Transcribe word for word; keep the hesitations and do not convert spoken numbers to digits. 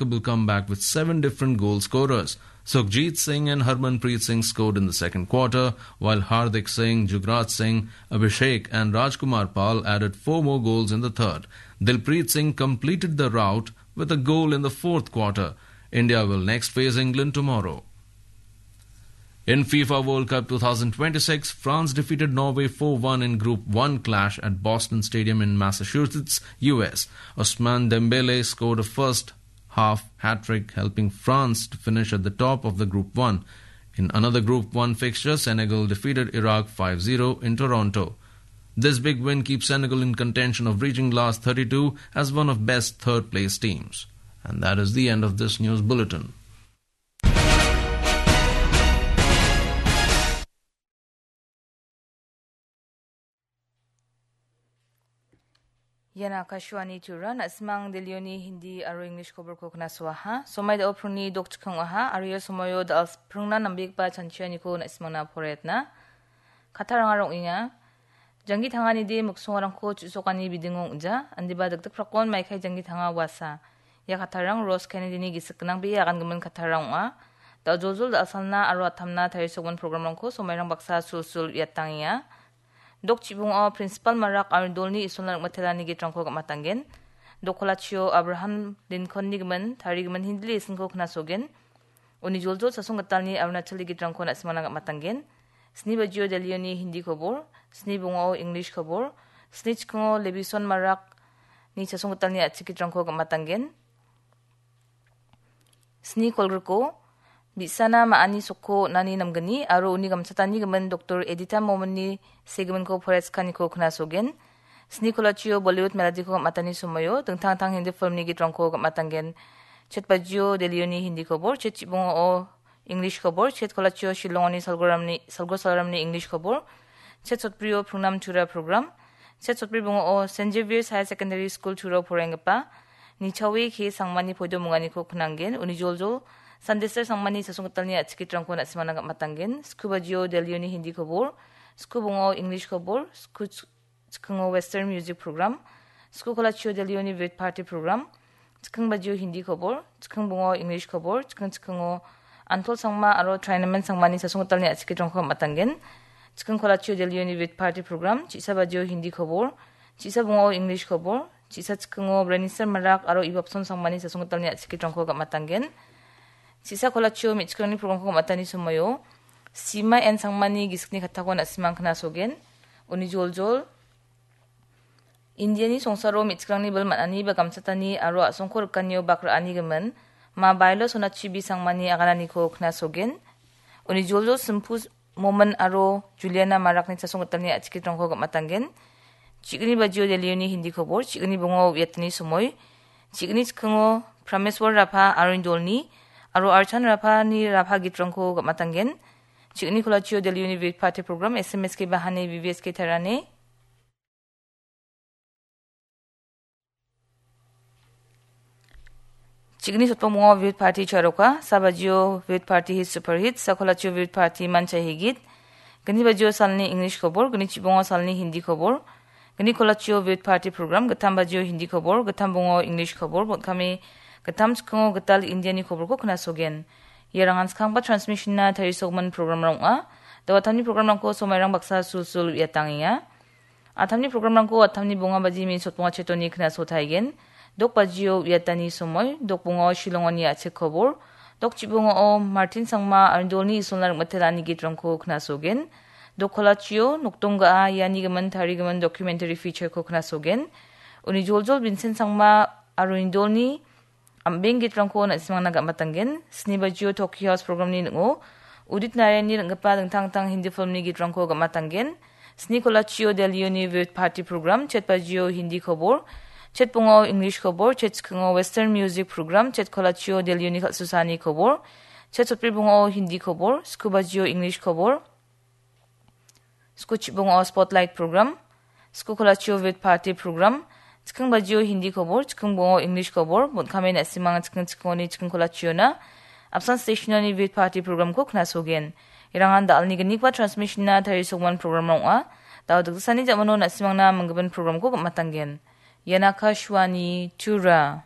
remarkable comeback with seven different goal scorers. Sukhjit Singh and Harmanpreet Singh scored in the second quarter, while Hardik Singh, Jugraj Singh, Abhishek and Rajkumar Pal added four more goals in the third. Dilpreet Singh completed the rout with a goal in the fourth quarter. India will next face England tomorrow. In FIFA World Cup two thousand twenty-six, France defeated Norway four one in Group one clash at Boston Stadium in Massachusetts, U S. Ousmane Dembélé scored a first half hat-trick, helping France to finish at the top of the Group one. In another Group one fixture, Senegal defeated Iraq five zero in Toronto. This big win keeps Senegal in contention of reaching last thirty-two as one of best third-place teams. And that is the end of this news bulletin. Ian Akashvani Tura, na·simang Delhioni Hindi aro English koborko knasoaha. Somai da·o prungni dokchikong aha, aro ia somoio da·al prungna nambegipa chanchianiko na·simangna poraiatna. Kataranga rong·enga. Janggi tanganide miksongarangko chu·sokani bidingo ong·ja, indiba dikdikprakon maikai janggi tanga uasa. Ia kattarang Ros Kennedy-ni gisik gnang bee agangimin kattarang ong·a. Da·joljol da·salna aro atamna tarisogimin programrangko somairang baksa sulsul uiatangenga. Dok chibongo Principal Marak aro dolni isolna rim·atelani gitrangko gam·atanggen. Dok kolachio Abraham Lincoln-ni gimin tarigimin Hindi lesson-ko knasogen. Uni joljol chasong gitalni Arunachal gitrangko na·simangna gam·atanggen. Sni bajio Delhioni Hindi kobor, sni bongao English kobor, sni chikongo Levison Marakni chasong gitalni a·chik gitrangko gam·atanggen. Sni kolgriko, bi·sana ma·ani sokko on·ani namgni aro uni gamchatani gimin Doktor Edita Mominni segiminko poraichikaniko knasogen. Sni kolachio Bollywood melodiko gam·atani somoio dingtang dingtang Hindi filmni gitrangko gam·atanggen. Chet bajio Delhioni Hindi kobor, chet chibongao English kobor, chet kolachio Shillongoni salgoramni, salgo salramni English kobor, chet sotbrio Prungnam Tura program, chet sotbri bongao Saint Xavier's Higher Secondary School Tura poraienggipa Nichawi K Sangmani poido munganiko knanggen, uni joljol Sandester Sangmani chasong gitalni a·chik gitrangko na·simangna gam·atanggen. Sku bajio Delhioni Hindi kobor, sku bongao English kobor, sku ch-, chikingo Western Music Program, sku kolachio Delhioni Vid Party Program, chiking bajio Hindi kobor, chiking bongao English kobor, chiking chikingo Antol Sangma aro Trinaman Sangmani chasong gitalni a·chik gitrangko gam·atanggen. Chiking kolachio Delhioni Vid Party Program, chisa bajio Hindi kobor, chisa bongao English kobor, chisa chikingo Brenister Marak aro Ibapson Sangmani chasong gitalni a·chik gitrangko gam·atanggen. Chisa kolachio me·chikrangni programko gam·atani somoio Sima N Sangmani gisikni kattako na·simang knasogen. Uni joljol Indiani songsaro me·chikrangni bil man·ani ba gamchatani aro a·songko rikanio bak ra·ani gimin Ma Bailo Sonachi B Sangmani agananiko knasogen. Uni joljol Simpu Momin aro Juliana Marakni chasong gitalni a·chik gitrangko gam·atanggen. Chigni bajio Delhioni Hindi kobor, chigni bongao uiatani somoi, chigni chikingo Prameswar Rapha aro indolni aro Archan Raphani Rapha gitrangko gam·atanggen. Chigni kolachio Delhioni Vid Party Program, S M S K Bahane, V V S K Tarane. Chigni sotbongbongo Vid Party charoka, sa bajio Vid Party hit super hit, sa kolachio Vid Party mancha higit, gni bajio salni English kobor, gni chibongo salni Hindi kobor, gni kolachio Vid Party program, gittam bajio Hindi kobor, gittam bongo English kobor, bon·kame gittam chikingo gital Indiani koborko knasogen. Iarangan skangba transmission-na tarisogimin program-rang ong·a. Dawatamni program-rangko somairang baksa sulsul uiatangenga. Atamni programrangko atamni bonga baji min sotbonga chetoni knaso taigen. Dok bajio uiatani somoi, dok bongao Shillongoni a·chik kobor, dok chibongao Martin Sangma aro dolni isolna rim·atelani gitrangko knasogen. Dok kolachio nokdong ga·a iani gimin tarigimin documentary feature-ko knasogen. Uni joljol Vincent Sangma aro indolni am·beng gitrangko na·simangna gam·atanggen. Sni bajio Tokyo House programni ning·o Udit Narayanni ring·gipa dingtang dingtang Hindi filmni gitrangko gam·atanggen. Sni kolachio Delhioni Vid Party program, chet bajio Hindi kobor, chet bongao English kobor, chet chikingo Western music program, chet kolachio Delhioni kal·susani kobor, chet sotbri bongao Hindi kobor, sku bajio English kobor, sku chibongo Spotlight program, sku kolachio Vid Party program, chiking bajio Hindi kobor, chiking bongo English kobor, bon·kame na·simang chiking chikingoni chiking kolachiona apsan stationoni Vid Party programko knasogen. Irangan da·alni gnigipa transmissionna tarisogimin program ong·a. Da·o dikdiksanni ja·mano na·simangna minggimin programko gam·atanggen. Ian Akashvani Tura.